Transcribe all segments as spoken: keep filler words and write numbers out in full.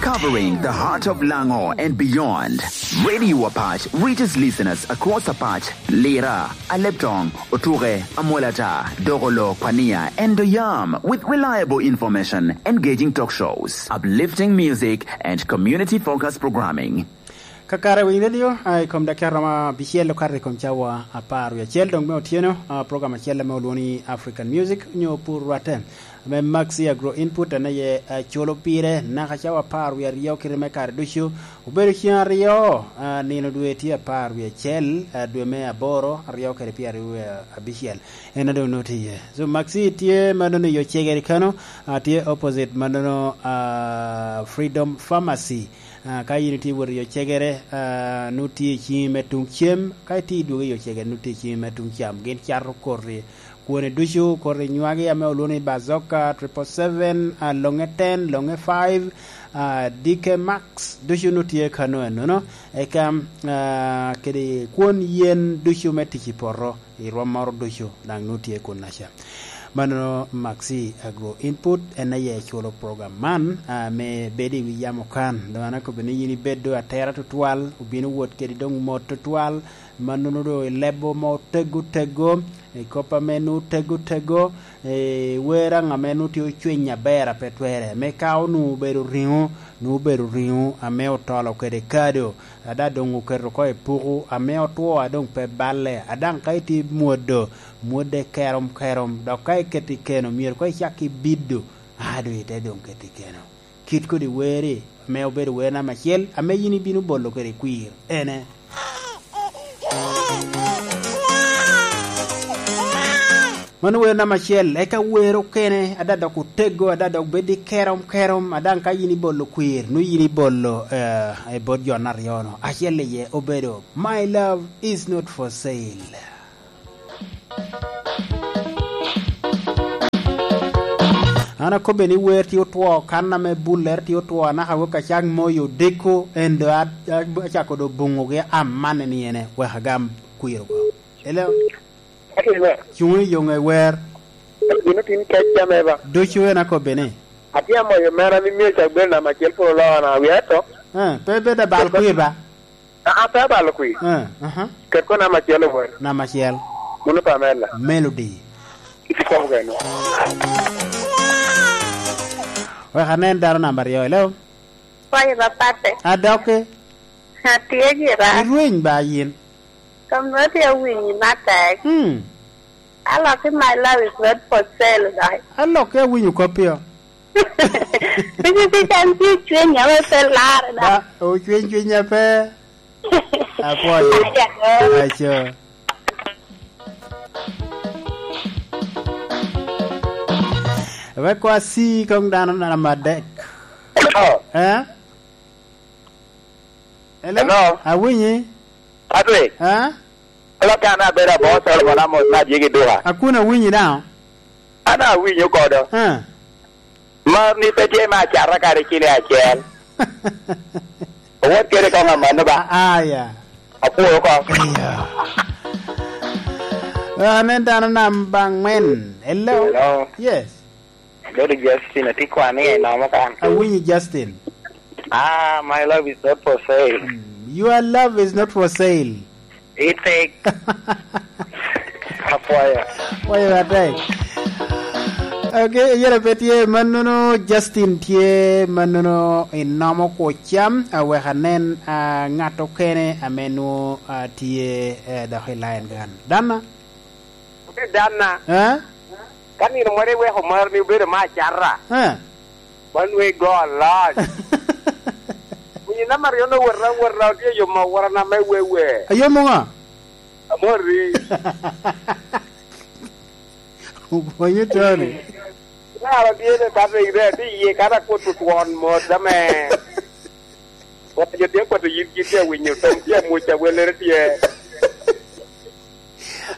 Covering the heart of Lango and beyond, Radio Apac reaches listeners across Apac, Lira, Aleptong, Otuke, Amolata, Dogolo, Pania, and Doyam with reliable information, engaging talk shows, uplifting music, and community-focused programming. Kakare Winy Radio, a, i kom dakika romo abicel okato i kom cawa apar wie acel, dong me otyeno, a, program acel ame olwoŋo ni African Music, onyo Pur Rwatte. Ame Maxi Agro Input en aye, eh, culo pire naka cawa apar wie aryo kite me kare ducu. Obedo cen aryo, eh, nino dwe tye apar wie acel, eh, dwe me aboro, aryo kede pye aryo wie abicel. En a doŋ nwoŋo tye iye. So, Maxi tye mannono i yo cegere kano, ah, tye opposite mannono, ah, Freedom Pharmacy. Ah, ka yin itye wot i yo cegere, ah, nwoŋo tye i ciŋi me tuŋ cem, ka itye idwogo i yo cegere, nwoŋo tye i ciŋi me tuŋ cam. Gin cato koti. Kwone ducu, koti nywagi ame olwoŋo ni Bazooka, triple seven, ah, Longe ten, Longe five, ah, D K Max, ducu nwoŋo tye kano enono. Eka, ah, kede kwon yen ducu me tic i poto, i rwommoro ducu, daŋ nwoŋo tye kunnaca. Mannono Maxi Agro Input en aye culo program man, ah, me bedo i wi yam okan. Doŋ an akobo ni yin ibed doŋ atera tutwal, obino wot kedi doŋ mot tutwal, mannono doŋ i lebo mo tego tego, i kop ame nwoŋo tego tego, i wer aŋ ame nwoŋo tye ocwiny aber a pe twerre, me ka onwoŋo obedo riŋo, nwoŋo obedo riŋo ame otolo kede kado, a daŋ doŋ oketo oko i puku, ame otwo a doŋ pe balle, a daŋ ka itye mwodo, mwodde kerom kerom, dok ka iketo i keno, myero koŋ icak ki bido, a doŋ ite doŋ keto i keno. Kit kodi weri, ame obedo wer namba acel, ame yin ibino bolo kede kwir, ene. Mano wer namba acel, eka wer okene, ada dok otego, ada dok bedo i kerom kerom, a daŋ ka yin ibolo kwir, nwoŋo yin ibolo, eh, i bot jo aryo-nu. Acel iye obedo, "My love is not for sale." An akobbe ni wer tye otwo, kan ame buller tye otwo, anaka wek acak moyo odiko, en doŋ a-, a-, acako doŋ buŋogi amanne ni ene, wek agam kwir oko. Hello? Ati wer. Cuŋ i yo ŋe wer. Gin otin kec jame ba? Ducu en akobbe ni. Atye amoyo mera ni myero cak bedo namba acel pwod oloo na wia to. Eh, pe bedo abal kwir ba? Aa, pe abalo kwir. Eh, aha. Ket ko namba acel i wer. Namba acel. Mano Pamela. Melody. Iti kong keno. Wek anen dano namba aryo, hello? Kwayo ba patte. Adokke. Atye gira. Irweny ba yin. Kom nwa tye awinyi matek. Hmm. Aloki, "My love is not for sale," dai. Aloki awinyo koppi o. Bigi pi can tye cwiny ame pe lare da. Ba, ocwiny cwiny ape. Apwoyo. Aco. Wek kwa si kong dano namba adek. Hello. Eh? Hello? Hello? Awinyi? Patrick? Eh? Hello, kan abedo abo Solomon Amos me Adyegi Duka. Akun awinyi daŋ? An awinyo kodo. Eh. Mar ni pe tye me acata kadi kilo acel. Owot kede kong amanno ba? A-, aya. Apwoyo kong. Iya. Ah, anen dano namba angwen. Hello? Hello? Yes. Abedo Justin, atye kwan i nomo kan. Awinyi, Justin. Ah, my love is not for sale. Mm, your love is not for sale. Itek. Apwoyo. Apwoyo atek. Ok, yere pe tye mannono, Justin tye mannono, inomo kwo cam, awek anen, ah, ŋat okene ame nwo, ah, tye, eh, dok i line kan. Dana? Ote danna. Eh? Ka nino moro iweko mar ni obedo me acata. Eh. Wan we go a lot. Winyo namba aryo no wot awota, otye yomo awota na me wewe. Ayomo ŋo? Amori. Opwonyo Tony. Nara dyene ka tek de, tye iye ka da kwot twon mot ame. Wot jo tye kwato yit, yit tye awinyo, tom tye amwoc, awelere tye.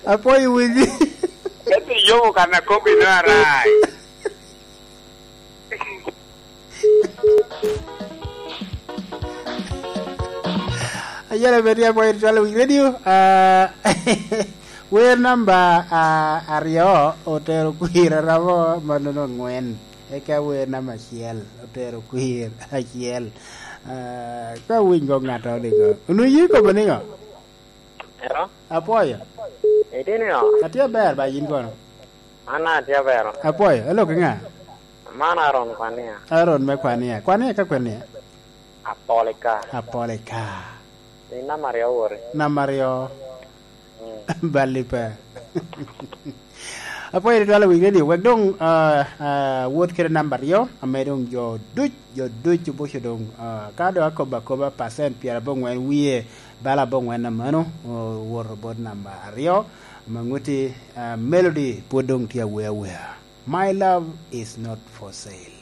Apwoyo winyi. Ento iyomo kan akobi no arai. Ayela bed ya boy twelve radio. Ah, wer namba, ah, aryo otero kwir arabo mannono angwen. Eka wer namba acel, otero kwir acel. Ah, ka winy go ŋato nigo. Onwoŋo ye kome nigo? Ero? Apwoyo. Itye nigo? Atye aber ba yin kono. An atye aber. Apwoyo, elok i ŋa? Man Aaron Kwania. Aaron me Kwania. Kwania ka kwenia? Apolika. Apolika. Ni namba aryo wori. Namba aryo. Mm. Balli pe. Apwoyo ni twala wik radio. Wek dong, ah, ah, wot kede namba aryo, ame dong jo duc, jo duc obuco dong, ah, ka dong akobo akoba, percent pyerabongwen wie, bala abongwen na mano, owoto bot namba aryo, ame ŋuti, ah, Melody pwod dong tye awea awea. My love is not for sale.